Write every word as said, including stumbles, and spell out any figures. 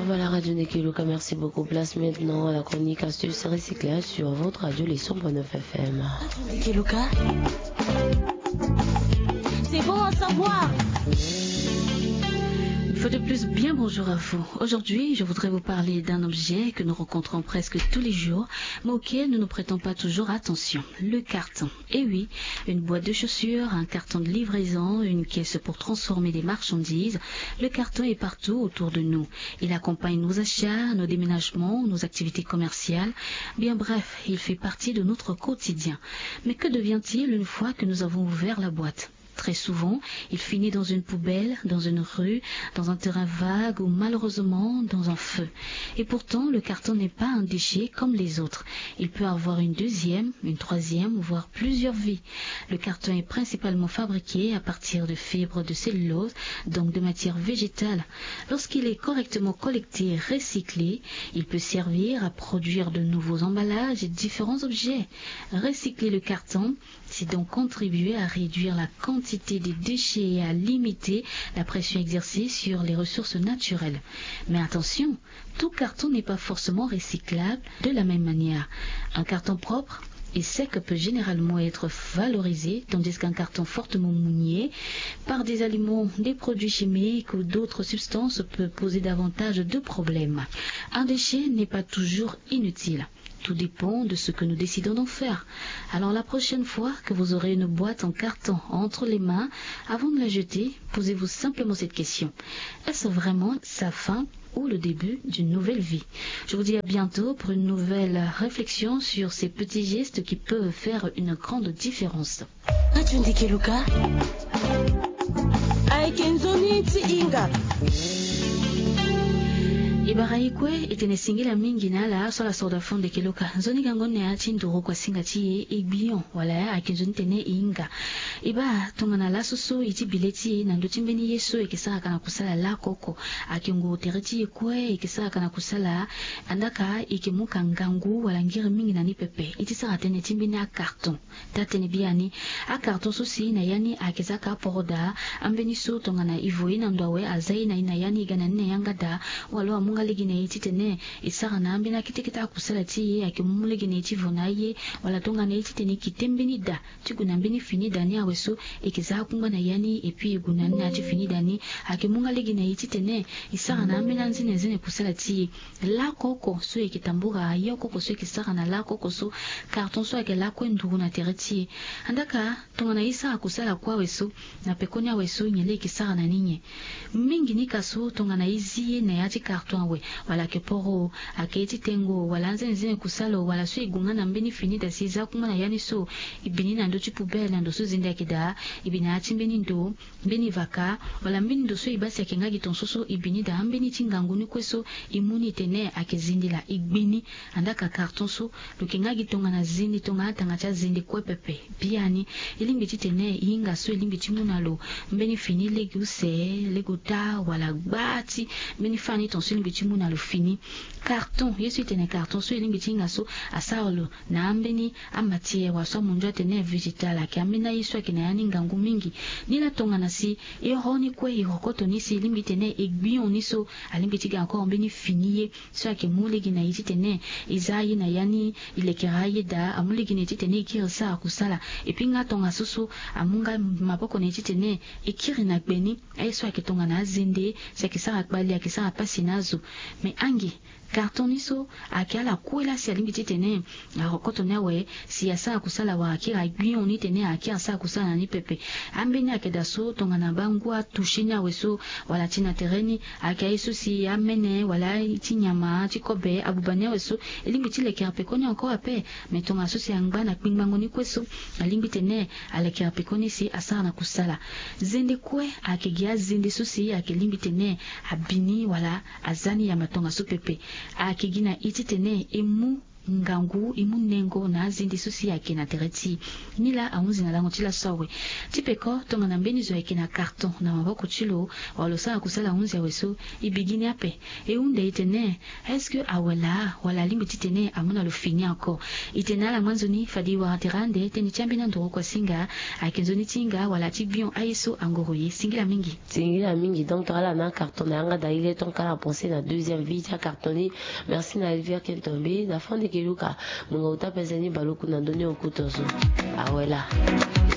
Voilà, Radio Ndekeluka, merci beaucoup. Place maintenant à la chronique astuce recyclage sur votre radio, les cent point neuf F M. Ndekeluka. C'est bon à savoir. Une fois de plus, bien bonjour à vous. Aujourd'hui, je voudrais vous parler d'un objet que nous rencontrons presque tous les jours, mais auquel nous ne prêtons pas toujours attention, le carton. Eh oui, une boîte de chaussures, un carton de livraison, une caisse pour transformer des marchandises, le carton est partout autour de nous. Il accompagne nos achats, nos déménagements, nos activités commerciales. Bien bref, il fait partie de notre quotidien. Mais que devient-il une fois que nous avons ouvert la boîte ? Très souvent, il finit dans une poubelle, dans une rue, dans un terrain vague ou malheureusement dans un feu. Et pourtant, le carton n'est pas un déchet comme les autres. Il peut avoir une deuxième, une troisième, voire plusieurs vies. Le carton est principalement fabriqué à partir de fibres de cellulose, donc de matière végétale. Lorsqu'il est correctement collecté et recyclé, il peut servir à produire de nouveaux emballages et différents objets. Recycler le carton, c'est donc contribuer à réduire la quantité des déchets et à limiter la pression exercée sur les ressources naturelles. Mais attention, tout carton n'est pas forcément recyclable de la même manière. Un carton propre et sec peut généralement être valorisé, tandis qu'un carton fortement mouillé par des aliments, des produits chimiques ou d'autres substances peut poser davantage de problèmes. Un déchet n'est pas toujours inutile. Tout dépend de ce que nous décidons d'en faire. Alors la prochaine fois que vous aurez une boîte en carton entre les mains, avant de la jeter, posez-vous simplement cette question. Est-ce vraiment sa fin ou le début d'une nouvelle vie ? Je vous dis à bientôt pour une nouvelle réflexion sur ces petits gestes qui peuvent faire une grande différence. Atu ndikeluka. Ayeke nzoni ti hinga. E bara e kue e tene singila mingi na ala so ala soro daa fo ndekeluka. Nzoni gango ni na ya ti nduru kua singa ti e e gbion wala ayeke nzoni tene e hinga. E baa tongana laso so e ti bi le ti e na ndö ti mbeni ye so e yeke sara ka na kusala lako oko. Ayeke nguru tere ti e kue e yeke sara ka na kusala. Andaa ka e yeke mu ka ngangu wala ngiri mingi na ni pepe. E ti sara tënë ti mbeni acarton. Taa-tënë biani, acarton so si na ya ni ayeke za ka aporo daa. Ambeni so tongana e vo ye na ndo awe, aza ye na e na ya ni, e ga na ni na yanga daa. Wala amu nga lege na e titene e sara na ambeni akete kete akusala ti e, ayeke mu lege na e ti vo na aye. Wala tongana e titene e kite mbeni da ti gue na mbeni fini da ni awe so e yeke za akungba na ya ni, et puis e gue na ni na ya ti fini da ni, ayeke mu nga lege na e titene e sara na ambeni anzenenzene kusala ti e. Lako oko so e yeke tambura, aye oko oko so e yeke sara na lako oko so, carton so ayeke lakue nduru na tere ti e. Andaa ka tongana e sara kusala kue awe so, na pekoni awe so nyen laa e yeke sara na ni nyen? Mingi ni ka so tongana e zi ye na ya ti carton awe, wala ayeke poro, ayeke ye ti tengo, wala anzenenzene kusala, wala so e gue nga na mbeni fini da si e za akungba na ya ni so, e bi ni na ndö ti poubelle na ndo so zende ayeke daa, e bi na ya ti mbeni ndo, mbeni vaka, wala mbeni ndo so e baa si ayeke nga gi tongaso so e bi ni daa, ambeni ti ngangu ni kue so e mu ni tene ayeke zende laa e gbe ni. Andaa ka carton so lo yeke nga gi tongana zende, tongana atanga ti azende kue pepe. Biani e lingbi titene e hinga so e lingbi ti mu na lo mbeni fini lege use, lege ota, wala gba ti mbeni fani tongaso e lingbi ti mu na lo fini. Carton, ye so e tene carton so e lingbi ti hinga so asara lo na ambeni amatière wala so amundu atene végétal, ayeke ambeni aye so ayeke na ya ni ngangu mingi. Nilaa tongana si e hon ni kue, e rokoto ni si e lingbi titene e gbion ni so, alingbi ti ga encore mbeni fini ye so ayeke mu lege na e titene e za aye na ya ni, e lekere aye daa, amu lege na e titene e kiri sara kusala. Et puis nga tongaso so amu nga maboko na e titene e kiri na gbe ni, aye so ayeke tongana azende, si ayeke sara kpali, ayeke sara pasi na azo. Mais ange, carton ni so ayeke ala kue laa si alingbi titene arokoto ni awe si asara kusala wala akiri agbion ni tene akiri asara kusala na ni pepe. Ambeni ayeke daa so tongana bangu atouché ni awe so, wala ti na tere ni, ayeke aye so si amene wala ti nyama ti kobe abuba ni awe so, e lingbi ti lekere pekoni encore ape. Mais tongaso si angba na kpingbango ni kue so, alingbi tene alekere pekoni si asara na kusala. Zende kue ayeke gi azende so si ayeke lingbi tene abi ni wala aza ni yamba tongaso pepe. Ayeke gi na e titene e mu Ngangu e mu nengo na azende so si ayeke na tere ti e. Nilaa ahunzi na lango ti laso awe. Ti peko tongana mbeni zo ayeke na carton na maboko ti lo, wala lo sara kusala ahunzi awe so, e bigini ape. E hunda e tene, est-ce que awe laa, wala alingbi titene amu na lo fini encore? E tene ala ngba nzoni fade e wara tere ande tënë ti ambeni anduru oko asinga. Ayeke nzoni ti hinga wala ti bion aye so angoro ye. Singila mingi. Singila mingi. Donc tongana ala na acarton na yanga da ye le ton kala pense na deuxième vie ti acarton ni. Merci na Elvire Kentombe na fande ke luka. Mungo uta pese ni baloku na ndoni okuto so. Awe laa.